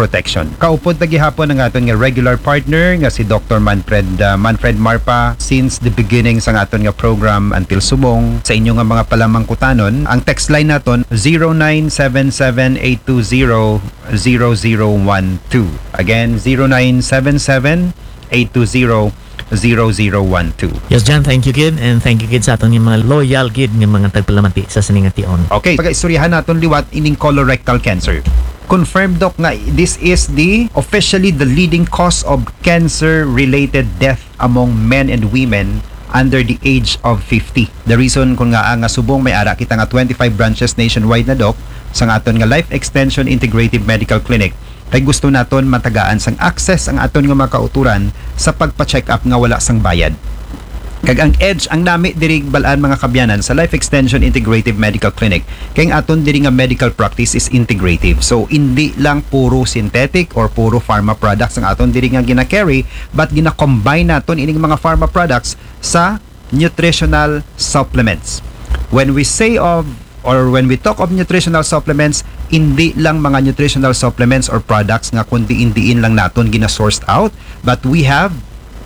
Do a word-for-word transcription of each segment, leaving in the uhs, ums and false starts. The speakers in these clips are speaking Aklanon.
protection. Kaupod ta gihapon ang aton nga regular partner nga si Doctor Manfred, ah, Manfred Marpa since the beginning sa aton nga program until subong. Sa inyo nga mga palamangkutanon, ang text line naton zero nine seven seven eight two zero zero zero one two. Again, zero nine seven seven eight two zero zero zero one two. Yes, John, thank you gid, and thank you gid sa aton nga mga loyal gid nga mga tagpalamati sa sining nga tion. Okay, pagaistoryahan naton liwat ining colorectal cancer. Confirmed, Doc, nga this is the officially the leading cause of cancer-related death among men and women under the age of fifty. The reason kun ngaa nga subong may ara kita nga twenty-five branches nationwide na, Doc, sa aton nga Life Extension Integrative Medical Clinic, kay gusto naton matagaan sang access ang aton nga mga kauturan sa pagpa-check up nga wala sang bayad. Kag ang edge, ang nami diri bal-an, mga kaabyanan, sa Life Extension Integrative Medical Clinic, kay ang aton diri nga medical practice is integrative. So, indi lang puro synthetic or puro pharma products ang aton diri nga gina-carry, but gina-combine naton ining mga pharma products sa nutritional supplements. When we say of or when we talk of nutritional supplements, hindi lang mga nutritional supplements or products nga kun diin-diin lang naton gina-sourced out, but we have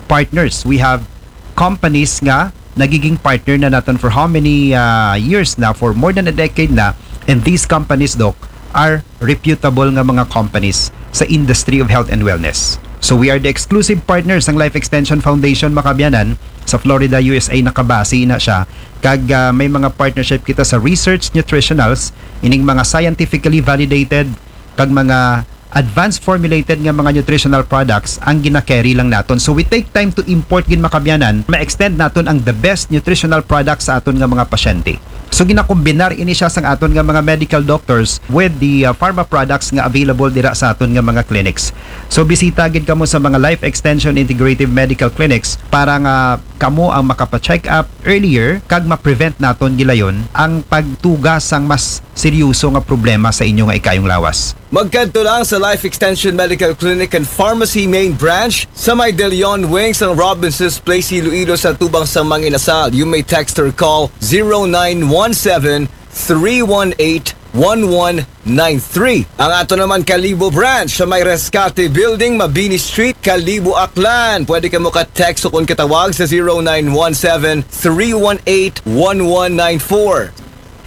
partners, we have companies nga nagiging partner na naton for how many, ah, years na, for more than a decade na, and these companies, Doc, are reputable nga mga companies sa industry of health and wellness. So we are the exclusive partners ng Life Extension Foundation, mga kaabyanan, sa Florida, U S A, nakabase na siya. Kag, ah, may mga partnership kita sa research nutritionals, ining mga scientifically validated kag mga advanced formulated nga mga nutritional products ang gina-carry lang naton. So we take time to import gid, mga kaabyanan, ma-extend naton ang the best nutritional products sa aton nga mga pasyente. So ginakombinar ini siya sang aton nga mga medical doctors with the, uh, pharma products nga available dira sa aton nga mga clinics. So bisita gid kamo sa mga Life Extension Integrative Medical Clinics para nga kamo ang makapa-check up earlier kag ma-prevent naton gilayon ang pagtuga sang mas seryoso nga problema sa inyo nga ikayong lawas. Magkadto lang sa Life Extension Medical Clinic and Pharmacy Main Branch sa may De Leon Wing sang Robinson's Place, Iloilo, sa tubang sang mga inasal. You may text or call zero nine one seven, three one eight, one one nine three. Ang aton naman Kalibo Branch sa may Rescate Building, Mabini Street, Kalibo, Aklan. Pwede kamo ka-text o kun katawag sa zero nine one seven, three one eight, one one nine four.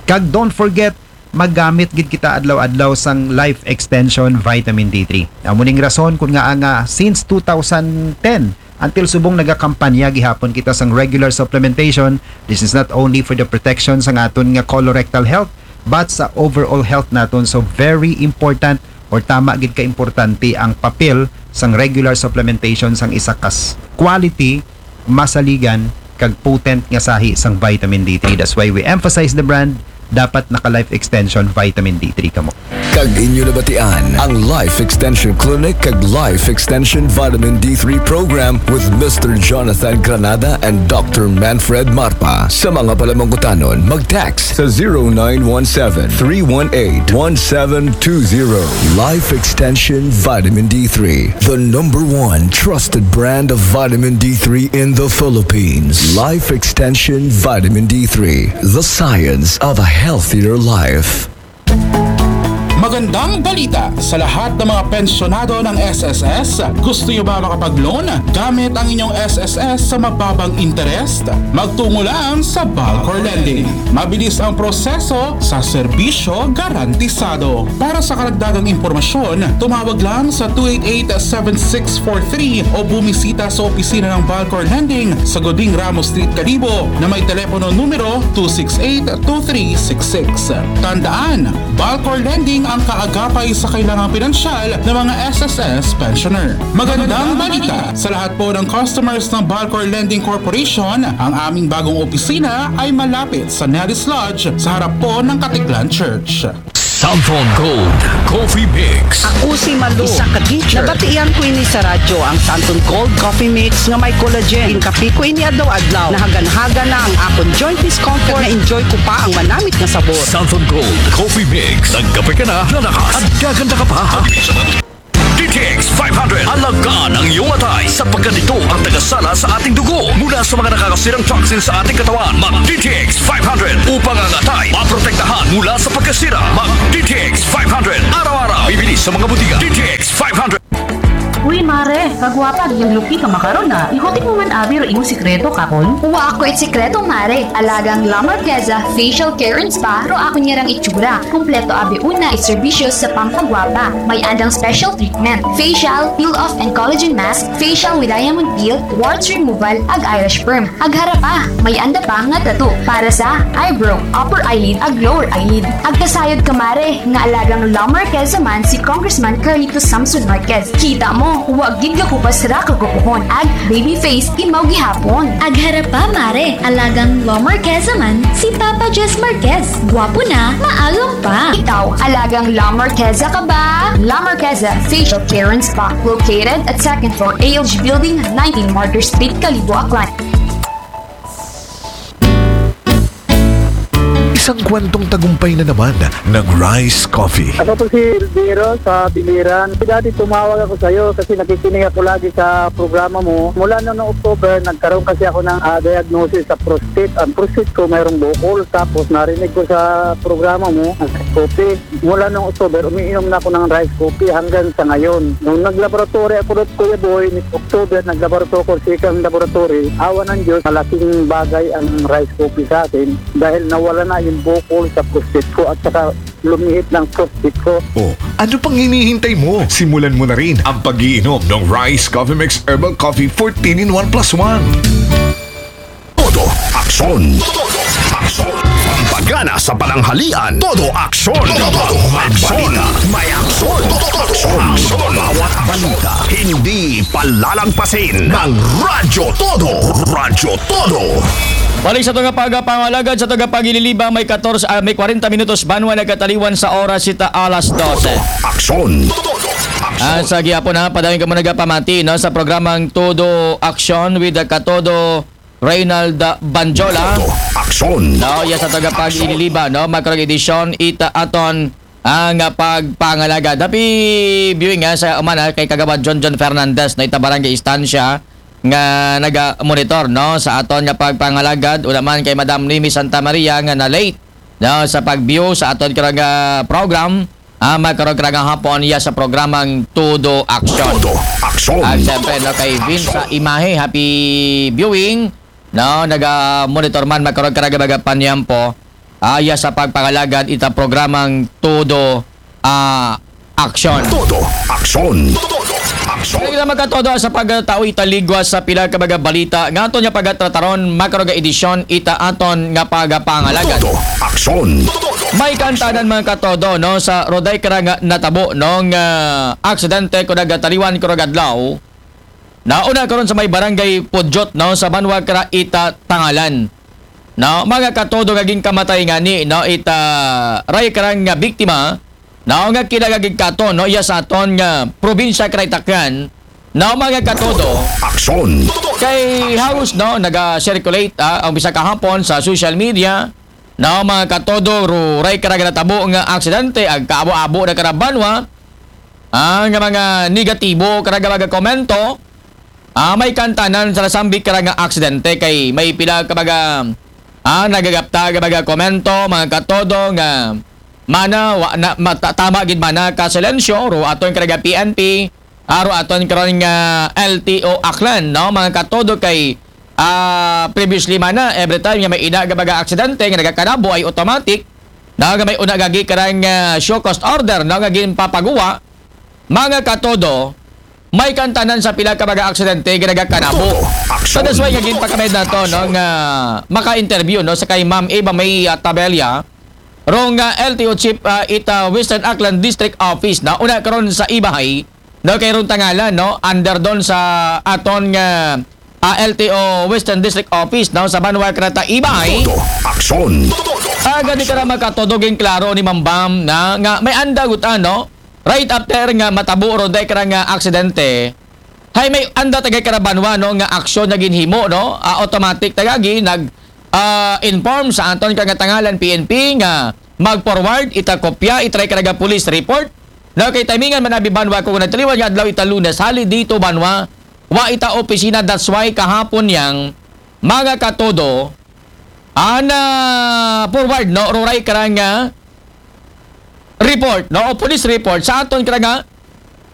Kag don't forget, magamit gid kita adlaw-adlaw sang Life Extension Vitamin D three. Amo ning rason kun ngaa nga since two thousand ten until subong nagakampanya gihapon kita sang regular supplementation. This is not only for the protection sang aton nga colorectal health, but sa overall health naton. So very important, or tama gid ka importante ang papel sang regular supplementation sang isa ka s-, quality, masaligan, kag potent nga sahi sang vitamin D three. That's why we emphasize the brand. Dapat naka Life Extension Vitamin D three kamo. Kag inyo nabatian ang Life Extension Clinic kag Life Extension Vitamin D three Program with Mister Jonathan Granada and Doctor Manfred Marpa. Sa mga palamangkutanon, mag-text sa zero nine one seven, three one eight, one seven two zero. Life Extension Vitamin D three, the number one trusted brand of vitamin D three in the Philippines. Life Extension Vitamin D three, the science of a healthier life. Magandang balita sa lahat ng mga pensyonado ng S S S. Gusto nyo ba makapag-loan? Gamit ang inyong S S S sa mababang interest. Magtungo lang sa Balcor Lending. Mabilis ang proseso sa serbisyo garantisado. Para sa karagdagang impormasyon, tumawag lang sa two eight eight, seven six four three o bumisita sa opisina ng Balcor Lending sa Goding Ramos Street, Kalibo, na may telepono numero two six eight, two three six six. Tandaan, Balcor Lending ang kaagapay sa kailangang pinansyal ng mga S S S pensioner. Magandang balita sa lahat po ng customers ng Balcor Lending Corporation. Ang aming bagong opisina ay malapit sa Nellis Lodge sa harap po ng Katiklan Church. Santon Gold Coffee Mix. Ako si Malu, isa ka teacher. Nabatian ko ini sa radyo, ang Santon Gold Coffee Mix nga may collagen. Ginkape ko ini adlaw-adlaw. Nahagan-hagan na ang akon joint discomfort. Na-enjoy ko pa ang manamit nga sabor. Santon Gold Coffee Mix. Nagkape ka na, lalakas at gaganda ka pa. D T X five hundred. Alagaan ang iyong atay sapagkat ito ang tagasala sa ating dugo mula sa mga nakakasirang toxin sa ating katawan. Mag D T X five hundred upang ang atay maprotektahan mula sa pagkasira. Mag D T X five hundred araw-araw. Bibili Sa mga butika, D T X five hundred. Uy, mare, kagwapa, agyan luki ka makaron na. Ikutik mo man abi ro imong sikreto, kakon? Wa ako it sikreto, mare. Alagang La Marqueza Facial Care and Spa ro ako niya rang itsura. Kumpleto abi una it serbisyo sa pampagwapa. May andang special treatment. Facial, peel off and collagen mask, facial with diamond peel, warts removal, ag eyelash perm. Agharap pa, may anda pa nga tattoo para sa eyebrow, upper eyelid, ag lower eyelid. Agkasayod ka, mare, nga alagang La Marqueza man si Congressman Carlito Samson Marquez. Kita mo, wa gid gakupas ra kagupuhon. Ag baby face, imaw gihapon. Agharap pa, mare, alagang La Marqueza man si Papa Jess Marquez. Gwapo na, maagom pa. Ikaw, alagang La Marqueza ka ba? La Marqueza Facial Care and Spa, located at second floor A L G Building, nineteen Martyr Street, Kalibo, Aklan. Isang kwentong tagumpay na naman ng Rice Coffee. Ako po si Elviro sa Biliran. Dati tumawag ako sa iyo kasi nakikinig ako lagi sa programa mo. Mula noong October, nagkaroon kasi ako ng ah, diagnosis sa prostate. Ang prostate ko mayroong bukol. Tapos narinig ko sa programa mo, ang Rice Coffee. Mula noong October, umiinom na ako ng Rice Coffee hanggang sa ngayon. Nung naglaboratory ako doon, Kuya Boy, ni October, naglaboratory ako sa isang laboratory. Awa ng Diyos, malaking bagay ang Rice Coffee sa akin dahil nawala na yung bukol sa prostate ko at saka lumiit ng prostate ko. O, ano pang hinihintay mo? Simulan mo na rin ang pag-iinom ng Rice Coffee Mix Herbal Coffee fourteen in one plus one. Todo aksyon. Todo aksyon. Pampagana sa pananghalian. Todo aksyon. Todo aksyon. May aksyon. Todo aksyon. Bawat balita. Hindi palalagpasin ng Radyo Todo. Radyo Todo. Balik sa tunga pagapangalagad sa tunga pagililibang may katorse, ah, may kwarenta minutos banwa nagkataliwan sa oras sita alas dose. Aksyon. Ah, sa gihapon na, padayong kamo nagapamati, no, sa programang Todo Aksyon with the Katodo Reynald Banjola. Todo aksyon. No, ya sa taga pag-ililiba, no, makarong edisyon ita aton ang ah, pagpangalagad. Happy viewing nga sa umana kay Kagawad John John Fernandez na ita barangay istansya nga naga-monitor, no, sa aton nga pagpangalagad. Una man kay Madam Nimi Santa Maria nga na late, no, sa pag-view sa aton karong ah, program. Ah, makarong karong hapon iya sa programang Todo Aksyon. Todo aksyon. At syempre, no, kay Vince sa Imahe, happy viewing. No, naga-monitor man makarong karong baga panyampo. Ah, iya sa pagpangalagad ita programang Todo ah, Aksyon. Todo aksyon. Todo aksyon. Kaya kita magkatodo sa pagtao italigwa sa pila ka mga balita nga aton nga pagatrataron makarong edisyon ita aton nga pagapangalagad. Todo aksyon. May kantanan mga katodo, no, sa roday karang natabo, no, nga aksidente ko nagataliwan ko nagadlaw. Nauna karon sa may barangay Pudyot, no, sa Banwa kara ita Tangalan. No, mga katodo nga ginkamatay ngani, no, ita ray karang nga biktima, no, nga kinagagigkaton, no, iya sa aton nga probinsya kara Taklan, no, mga katodo. Aksyon. Kay halos, no, naga-circulate ah, ang bisa kahapon sa social media, no, mga katodo, ruray kara natabo nga aksidente, ag kaabo-abo na kara banwa, ah, nga mga negatibo kara nga mga komento, ah, may kantanan sa nasambit kara nga aksidente kay may pila ka mga ah, nagagapta ka mga komento, mga katodo nga mana wa na mata, tama gid mana ka silensyo ro aton kara nga P N P, aro aton karon nga L T O Aklan, no, mga katodo kay ah, previously mana every time nga may ina nga mga aksidente nga nagakanabo ay automatic na nga may una gagi karang ah, show cause order, no, nga ginpapaguwa, mga katodo, may kantanan sa pila ka mga aksidente nga nagakanabo. So that's why nga ginpakamed nato, no, nga maka-interview, no, sa kay Ma'am Eva May ah, Tabella, rong ah, L T O chief ah, ita Western Aklan District Office na una karon sa Ibahay, no, kay rong Tangalan, no, under doon sa aton nga ah, L T O Western District Office, no, sa Banwa kara ta Ibahay. Todo aksyon. Aga di kara makatodo, ginklaro ni Ma'am Bam na nga may anda gutan, no, right after nga matabo ro day kara nga aksidente, hay may anda tagay kara banwa, no, nga aksyon na ginhimo, no, ah, automatic tagagi nag ah, inform sa aton kang Tangalan P N P nga mag-forward ita kopya, itry kara nga police report. No, kay timingan man abi banwa ko nagtaliwan nga adlaw ita Lunes, holiday dito banwa, wa ita opisina, that's why kahapon yang mga katodo ana forward, no, ruray kara nga report, no, o police report sa aton kara nga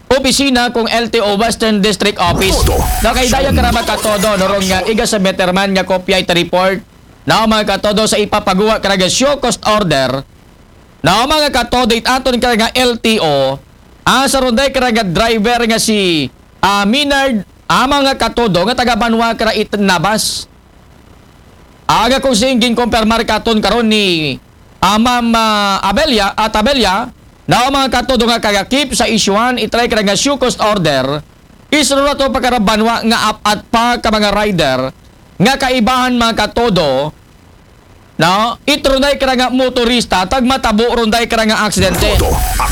opisina kung L T O Western District Office. Nakahidaya kara, mga katodo, no, rong nga iga-submit man nga kopya ita report, no, mga katodo, sa ipapaguwa kara nga show cause order, no, mga katodo, it aton kara nga L T O, asa ron day kara nga driver nga si, ah, Minard, ah, mga katodo, nga taga banwa kara it Nabas. Aga kung sing ginkumpirmar katon karon ni, ah, Ma'am, ah, Abella, at Abella, na ang mga katodo nga kagakip sa isyuhan, itry kara nga show cause order, isuro na to pa kara banwa nga apat pa ka mga rider, nga kaibahan, mga katodo, no? It ron day kara nga motorista, tag matabo ron day kara nga aksidente.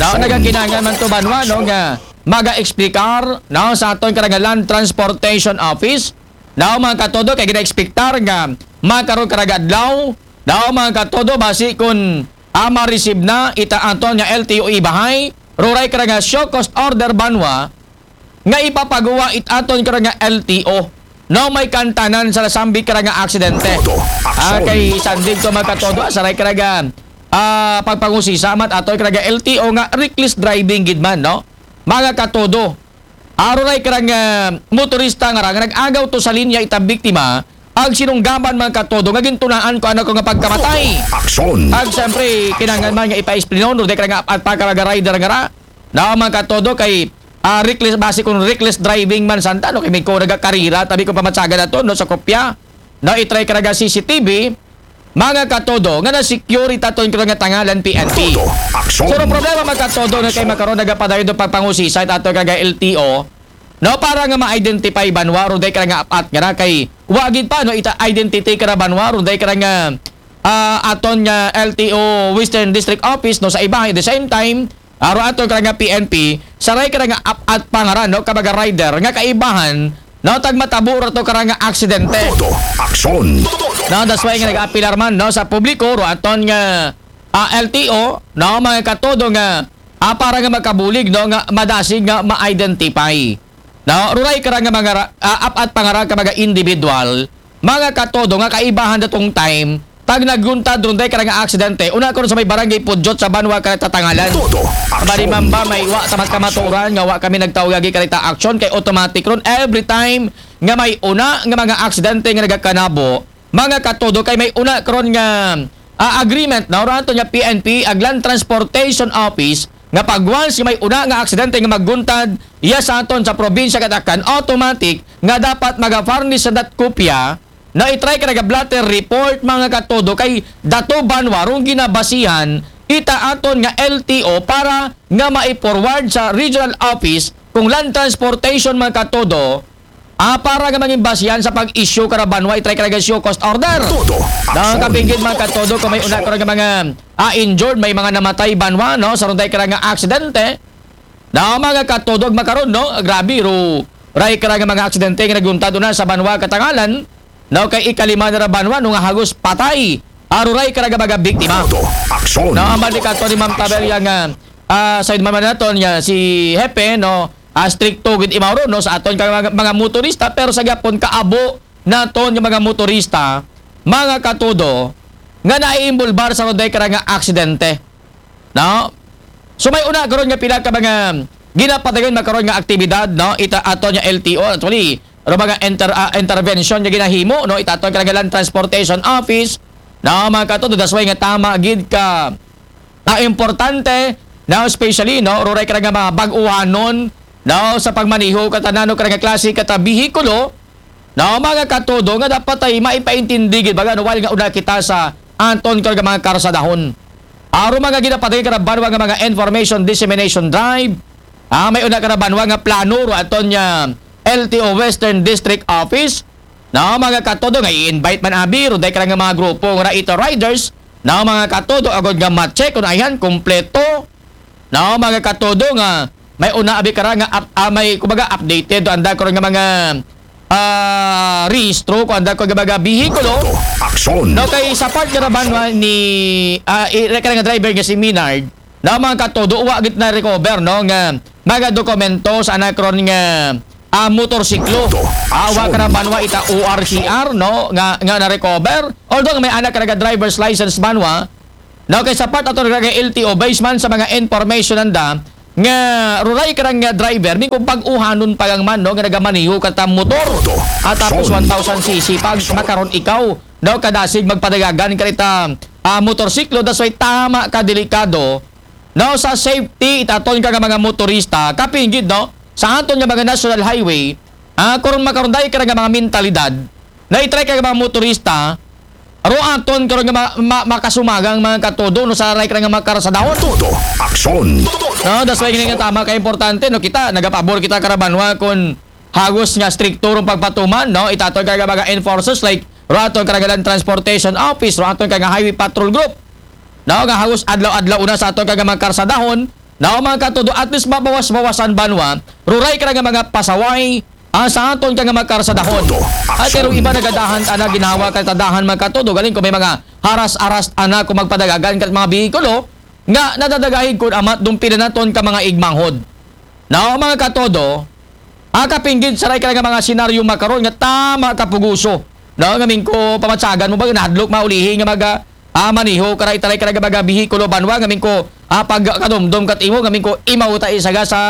No, nagakinahanglan man to banwa, no, nga maga-explikar, no, sa aton kara nga Land Transportation Office, no, mga katodo, kay gina-expectar nga makaron kara nga adlaw, no, mga katodo, basi kun, ah, ma-receive na ita aton nga L T O ibahay, ruray kara nga show cause order banwa, nga ipapaguwa it aton kara nga L T O. No, may kantanan sa nasambit kara nga aksidente. Ah, kay sandig to, mga katodo, asaray kara nga, ah, pagpangusisa man aton kara nga L T O nga reckless driving gid man, no? Mga katodo, aruray kara nga motorista nga ra nga nag-agaw to sa linya ita biktima, ag sinunggaban, mga katodo, nga gintunaan ko anak ko nga pagkamatay. Aksyon. Ag siyempre, kinahanglan man nga ipa-explainon, ruday kara nga apat pa ka mga rider nga ra, no, mga katodo, kay, ah, reckless, basi kung reckless driving man santa, no, kay may ko nagakarira, tabi ko pamatsagan na to, no, sa kopya. No, itry kara nga C C T V, mga katodo, nga na-secure ita aton kara nga tangalan P N P. Aksyon. So, ang problema, mga katodo, na kay makaron nagapadayon do pagpangusisa ita aton kara nga L T O, no, para nga ma-identify banwa, ruday kara nga apat nga ra kay, wa gid pa, no, ita identity kara banwa, ruday kara nga, ah, aton nga L T O Western District Office, no, sa iba, at the same time, aro aton kara nga P N P, saray kara nga apat pa nga ra, no, ka mga rider, nga kaibahan, no, tag matabo ra to kara nga aksidente. Todo aksyon. No, that's why nga nag-apilar man, no, sa publiko, ro aton nga, ah, L T O, no, mga katodo nga, ah, para nga makabulig, no, nga madasig nga ma-identify. No, ruray kara nga mga ra-, ah, apat pa nga ra ka mga individual, mga katodo nga kaibahan datong time, tag naguntad ron day kara nga aksidente, una karon sa may barangay Pudyot sa banwa kara ita tangalan. Todo aksyon. Bali man ba may wa ta magkamaturan nga wa kami nagtawag agi kara ita aksyon, kay automatic ron every time nga may una nga mga aksidente nga nagakanabo, mga katodo, kay may una karon nga, ah, agreement, no, ro aton nga P N P, ag Land Transportation Office, nga pag once nga may una nga aksidente nga magguntad, iya sa aton sa probinsya Katakan, automatic nga dapat maga-furnish sa dat kopya, na itry kara nga blotter report, mga katodo, kay dato banwa rong ginabasihan ita aton nga L T O para nga mai-forward sa regional office kung Land Transportation, mga katodo, ah, para nga mangin basihan sa pag-issue kara banwa, itry kara nga show cause order. Todo. Nakapinggit, mga katodo, kung may una kara nga mga, ah, injured, may mga namatay banwa, no, sa ron day kara nga aksidente. Na, mga katodo, ag makaron, no, grabe, ro, ray kara nga mga aksidente nga naguntad una sa banwa katangalan, no, kay ikalima na ra banwa, no, nga hagos patay, aruray kara nga mga biktima. Todo aksyon. Na, ang balik ato ni Ma'am Tabella nga, ah, sa man naton nga si Hepe, no, ah, strikto gid imaw ron, no, sa aton ka mga, mga motorista, pero sa gapon kaabo naton nga mga motorista, mga katodo, nga naiimbolbar sa ron day kara nga aksidente. No? So, may una karon nga pila ka mga ginapadayon makaron nga aktibidad, no? Ita aton nga L T O, actually, ro mga inter-, ah, intervention nga ginahimo, no? Ita aton kara nga Land Transportation Office, no? Mga katodo, that's why nga tama gid ka, ah, importante, no? Especially, no? Ruray kara nga mga bag-uhanon, no? Sa pagmaneho kata nano kara nga klase kata bihikulo, no? Mga katodo, nga dapat ay maipaintindi gid baga, no? While nga una kita sa aton kara nga mga karsadahon. Aro mga ginapadayon kara banwa nga mga information dissemination drive. Ah, may una kara banwa nga plano ro aton nga L T O Western District Office. No, mga katodo, nga i-invite man abi ro day kara nga mga grupo nga ita riders. No, mga katodo, agod nga ma-check kung ayan kompleto. No, mga katodo, nga may una abi kara nga up-, ah, may kumbaga updated do anda karon nga mga, ah, rehistro ko anda ko nga mga bihikulo. Aksyon. No, kay sa part nga ra banwa ni, ah, i-, kara nga driver nga si Minard, no, mga katodo, wa gid na-recover, no, nga mga dokumento sa anak ron nga, ah, motorsiklo. Todo. Ah, wa aksyon. Kara banwa ita O R C R, no, nga, nga na-recover. Although may anak kara nga driver's license banwa, No, kay sa part ato nga L T O, based man sa mga information nanda, nga ruray karang nga driver, mi kung pag-uhanon pa lang man, no, nga nagamaneho kata motor. At tapos one thousand C C, pag makaron ikaw, no, kadasig magpadagagan karita ah, motorsiklo, that's why tama ka delikado. No, sa safety, itaton ka nga mga motorista, kapinggid, no, sa aton nga mga national highway, ah, karon makaron day ka nga mga mentalidad, na itry ka nga mga motorista, ro aton karon nga ma- ma- makasumagang mga katodo, no, sa ray ka nga mga karsadahon. Todo aksyon. No, that's why nga tama ka importante, no, kita, nagapabor kita karabanwa kung hagos nga strikto rong pagpatuman, no, itaton ka nga mga enforcers like ro aton ka nga Land Transportation Office, ro aton ka nga Highway Patrol Group, no, nga hagos adlaw-adlaw una sa aton ka nga mga karsadahon, no, mga katodo, at least mabawas-bawasan banwa ruray ka nga mga pasaway, ah, sa aton ka nga mga karsadahon. At pero iba nagadahan ana ginawa ka tadahan, mga katodo, galing ko may mga haras-aras ana kung magpadagagan ka mga bihikulo nga nadadagahig kun amat dumpila naton ka mga igmanghod. No, mga katodo, ah, kapinggid sa ray ka nga mga senaryo makaron nga tama ka puguso. No, ngamin ko pamatsagan mo ba nahadlok maulihi nga maga ah, maniho kara itaray kara nga mga bihikulo banwa ngamin ko ah, pag kadumdum kat imo ngamin ko imaw ta isaga sa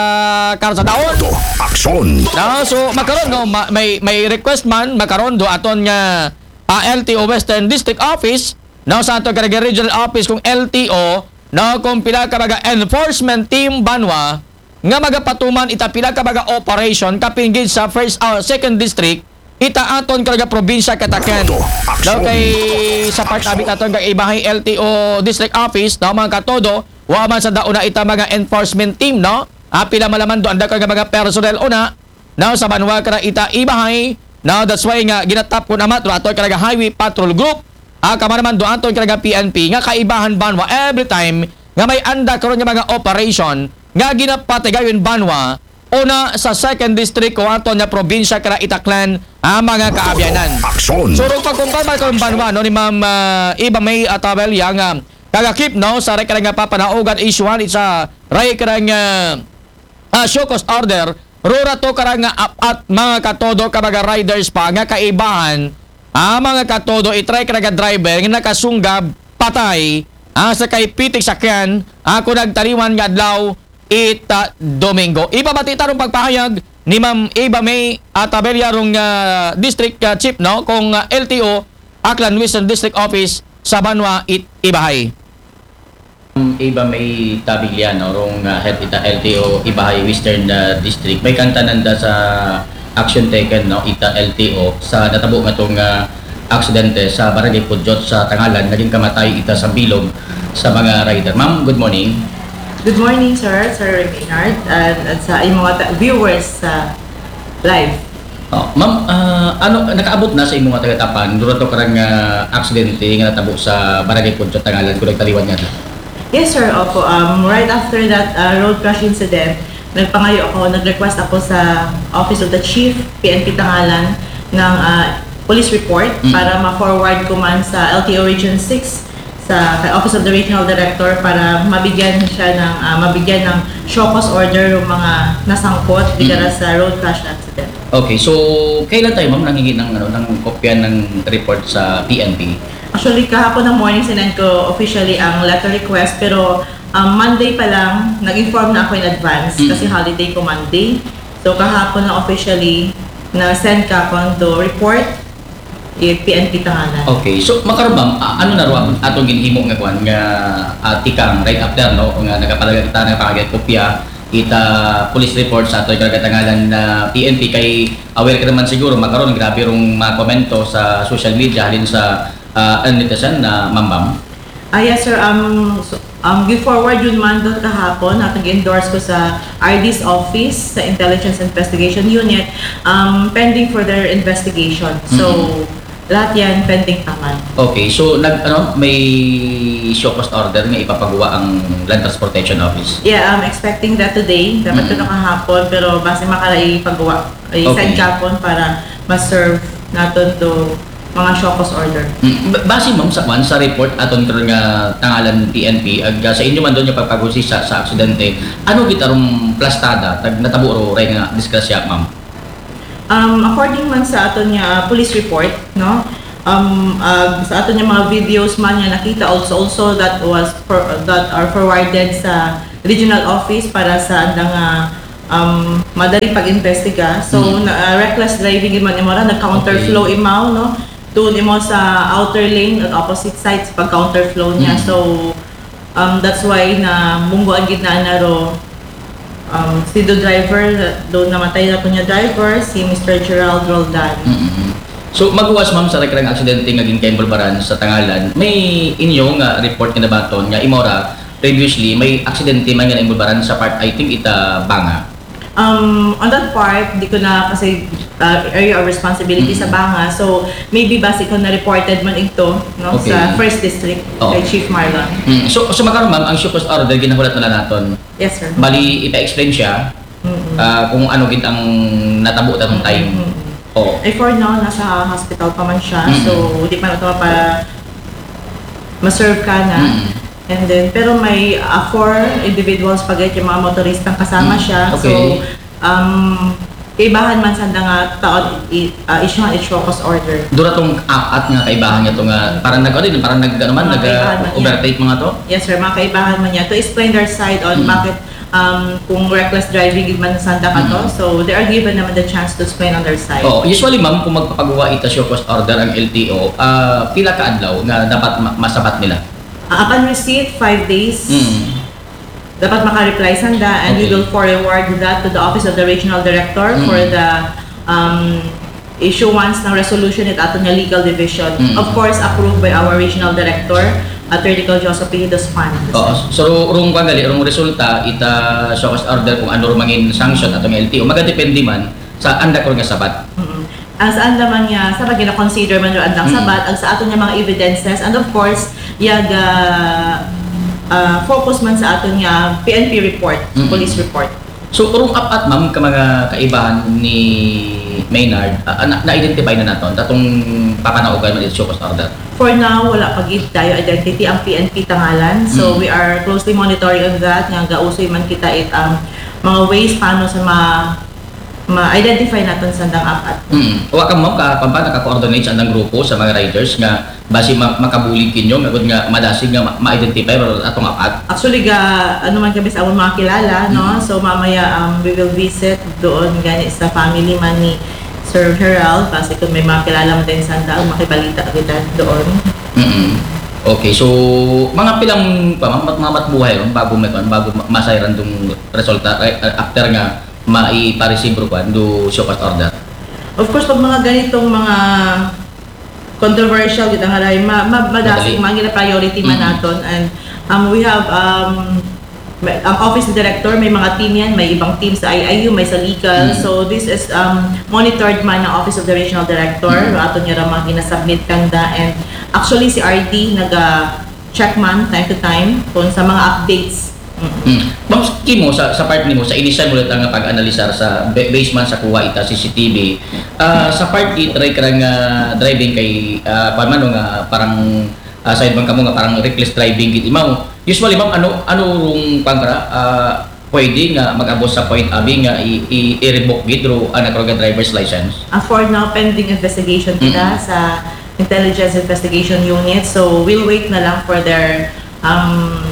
karsadahon. Aksyon. No, so makaron, no, ma- may may request man makaron do aton nga ah, L T O Western District Office, no, sa aton ka nga regional office kung L T O, no, kung pila ka mga enforcement team banwa nga magapatuman ita pila ka mga operation kapinggid sa first or second district, ita aton ka nga probinsya katakan. No, kay sa part abit aton kag Ibahay L T O District Office, no, mga katodo, wa man sa dauna ita mga enforcement team, no? Ah, pila malaman do anda ka nga mga personnel una, no, sa banwa ka na ita Ibahay, no, that's why nga ginatap ko naman do aton ka nga highway patrol group, ah, kama naman do aton ka nga P N P nga kaibahan banwa every time nga may anda karon nga mga operation nga ginapatigayon banwa una sa second district ko aton nga probinsya kara itaklan ang mga kaabyanan. Aksyon. So, rong pagkumpama ko banwa, no, ni Ma'am ah, Eva May Atabella nga kagakip, no, sa rekara nga papanaugan isyuhan sa rekara nga ah, show cause order, rura to kara nga apat mga katodo ka mga riders pa nga kaibahan, ah, mga katodo itry ka nga driver nga nakasunggab patay ah, sa kay pitik sakyan ah, kung nagtaliwan nga adlaw ita Domingo. Ipabati tarong pagpahayag ni Ma'am Eva May Atabella rong ah, District ah, Chief, no, kung ah, L T O Aklan Western District Office sa Banwa it Ibahay. Iba may tabigliano rong ah, head ita L T O Ibahay Western ah, District. May kantanan da sa action taken, no, ita L T O sa natabo nga tong ah, aksidente sa Barangay Pudyot sa Tangalan, naging kamatay ita sa bilog sa mga rider. Ma'am, good morning. Good morning, sir, Sir Maynard, and, and sa inyong mga ta- viewers sa live. Oh, ma'am, ah, ano nakaabot na sa imong tagatapan dura to karang ah, aksidente nga natabo sa Barangay Pudyot Tangalan kung nagtaliwan nga? Yes, sir. Opo. Um, right after that uh, road crash incident, nagpangayo ako, nag-request ako sa Office of the Chief, P N P Tangalan, ng uh, police report Mm. para ma-forward ko man sa L T O Region six, sa kay Office of the Regional Director para mabigyan siya ng ah, mabigyan ng show cause order yung mga nasangkot Mm. digara sa road crash accident. Okay, so kailan tayo, ma'am, nangingi ng ano, ng kopya ng report sa P N P? Actually, kahapon ng morning sinend ko officially ang letter request, pero um, Monday pa lang nag-inform na ako in advance Mm. kasi holiday ko Monday. So kahapon na officially na send ka ko to report it P N P Tangalan. Okay, so makaron, ma'am, a- ano na ro atong ginhimo nga kwan nga ah, tikang right after, no, nga nagapalaga kita, nagapangagay kopya ita police report sa ato ikaw Tangalan na P N P kay aware ka naman siguro makaron grabe rong mga komento sa social media halin sa ah, ano nito, sir, na mambam? Ah, yes, sir. Um, so, um, gi-forward yun man doon kahapon. At nag-endorse ko sa R D's office, sa Intelligence Investigation Unit. Um, pending for their investigation. So, Mm-hmm. lahat yan pending pa man. Okay, so nag ano may show cause order nga ipapagawa ang Land Transportation Office? Yeah, I'm expecting that today. Dapat Mm-hmm. ito kahapon, pero base makala ipagawa, i-send Okay. kahapon para ma-serve naton to mga show cause order. Mm, ba- base, ma'am, sa kwan, sa report aton karon nga Tangalan P N P, ag ah, sa inyo man doon nga pagpagusisa sa aksidente, ano gitarong plastada tag natabo ro ray nga disgrasya, ma'am? Um, according man sa aton nga ah, police report, no, Um, uh, sa aton nga mga videos man nga nakita, also, also that was for, that are forwarded sa regional office para sa andang, uh, um, madali pag-imbestiga. So, Mm. na, uh, reckless driving man imo ra, nag-counterflow imaw, no? Doon imo sa outer lane at opposite side sa pag-counterflow niya. Mm. So, um, that's why na bunggo ang gitna na ro. Um, si the driver, doon namatay na po niya driver, si Mister Gerald Roldan. Mm-mm. So, maghuwas, ma'am, sa karang aksidente nga ginkainbolbaran sa Tangalan, may inyo nga report nga nabaton nga imo ra, previously, may aksidente man nga nainbolbaran sa part, I think, ita Banga. Um, on that part, di ko na kasi uh, area of responsibility sa Mm. Banga. So, maybe base ko na reported man ito, no, Okay. Sa first district Oo. Kay Chief Marlon. Mm. So, so makaron, ma'am, ang show cause order ginahulat na naton. Yes, sir. Bali, ipa-explain siya Mm-mm. ah, kung ano gid ang natabo ta tong time. Mm-mm. Oo. Eh, for now, nasa hospital pa man siya. Mm-mm. So, di pa nato pa ma-serve ka na. Mm. And then, pero may uh, four individuals pa gayud nga mga motoristang kasama Mm. siya. Okay. So, um, kaibahan man sa nga taon, i- uh, issue ang show cause order. Dura tong apat nga kaibahan nga to nga parang nag ano, parang nag ano man, Mga nag kaibahan man, overtake mga to. Yes, sir. Mga kaibahan man niya. To explain their side on Mm. bakit um, kung reckless driving gid man sanda ka to. Mm. So, they are given naman the chance to explain on their side. Oh, usually, ma'am, kung magpapagawa ita show cause order ang L T O, ah, pila ka adlaw nga dapat ma- masabat nila? Uh, upon receipt, five days. Mm. Dapat maka-reply sanda, and we Okay. will forward that to the office of the regional director for Mm. the um, issuance ng resolution at aton nga legal division. Mm. Of course, approved by our regional director, Attorney Col Joseph Pijidos Pan. Oo. So, rung kwan gali, rung resulta, ita show cause order kung ano rumangin sanction atong L T O, magadepende man sa anda ko nga sabat. Mm. Ang saan naman niya, sa pag gina-consider man yung andang Mm. sabat, ang sa aton nga mga evidences, and of course, yaga uh, focus man sa aton nga P N P report, Mm. police report. So, urong apat, ma'am, ka mga kaibahan ni Maynard, ah, na- na-identify na naton, tatong papanaugan man ito show cause order. For now, wala pa gid tayo identity ang P N P Tangalan. So, Mm. we are closely monitoring on that. Nga gausoy man kita it ang mga ways paano sa ma ma-identify naton sa andang apat. Mm. Wa ka, ma'am, ka, ka, naka-coordinate sa andang grupo sa mga riders nga basi ma- makabulig kinyo, nga gud nga madasig nga ma- ma-identify ro atong apat. Actually, ga, ano man kami sa among mga kilala, no? Mm. So, mamaya um, we will visit doon gani sa family man ni Sir Gerald, kasi kung may mga kilala mo din sa andang, makibalita kita doon. Mm. Okay, so mga pilang pa, mga, mga matbuhay ron bago may kwan, bago ma- masayran dong resulta, eh, after nga maipareceive ro kwan do show cause order. Of course, pag mga ganitong mga controversial gid ang haray, ma, ma, madasig Madali. Mga gina-priority man Mm. naton, and um, we have um, may, ang office director, may mga team yan, may ibang team sa I I U, may sa legal. Mm. So this is um, monitored man ng Office of the Regional Director. Mm. Aton nga ra mga ginasubmit kanda, and actually si R D naga check man time to time kung sa mga updates. Mm. Mm. Ma'am, kimo sa, sa part nimo, sa initial mo lang nga pag-analisar sa ba- base man sa kuha ita C C T V, ah, sa part it ray karang ah, driving kay ah, kwan man, no, nga parang ah, side man kamo nga parang reckless driving gid imaw. Usually, ma'am, ano ano rong kwan kara, ah, pwede nga mag-abot sa point abi nga i- i- i-revoke gid ro ana karong driver's license? Ah, for now, pending investigation kita Mm. sa Intelligence Investigation Unit. So, we'll wait na lang for their um,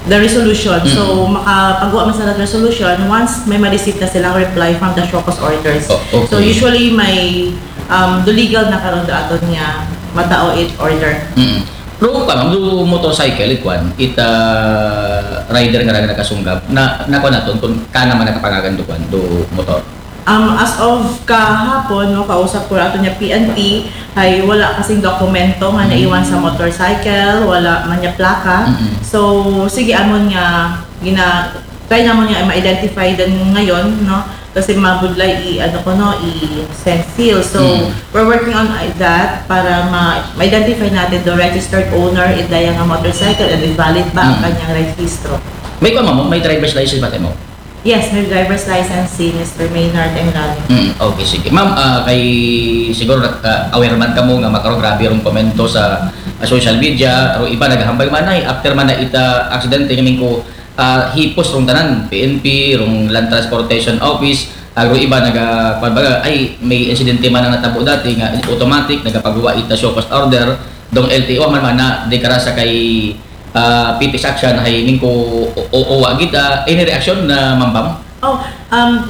the resolution. So, Mm. makapagawa man sa resolution once may ma-receive na silang reply from the show cause orders. O- okay. So, usually may um, do legal na karon do aton nga matao it order. Mm. Pero kwan, ma'am, do motorcycle, it kwan, it ah, rider nga raga nakasunggab, na, na kwan naton, kung kana man nakapangagan do kwan, do motor. Um, as of kahapon, no, kausap ko ato niya P N P, ay wala kasing dokumento nga Mm. naiwan sa motorcycle, wala man niya plaka. Mm-mm. So, sige, amon nga gina try namon nga ma-identify din ngayon, no? Kasi mabudlay i ano ko, no, i-send seal. So, Mm. we're working on that para ma- ma-identify natin the registered owner, it daya nga motorcycle, and if valid ba ang Mm. kanyang rehistro. May kwan, ma'am, may driver's license ba mo? Yes, may driver's license si Mister Maynard Engaño. Mm, okay, sige. Ma'am, ah, kay siguro nag- ah, aware man kamo nga makaron grabe rong komento sa ah, social media, ro iba naghambal man ay after man na ita aksidente nga mingko ah, hipos rong tanan, P N P, rong Land Transportation Office, agro iba naga, kuwan baga, ay, may insidente man ang natabo dati nga automatic, nagapagawa ita show cause order, dong L T O man man na, di karasa kay, ah, P P S action, hay ningko o, o, uwa gid, ah, any reaction na Ma'am Pam? Oh, um,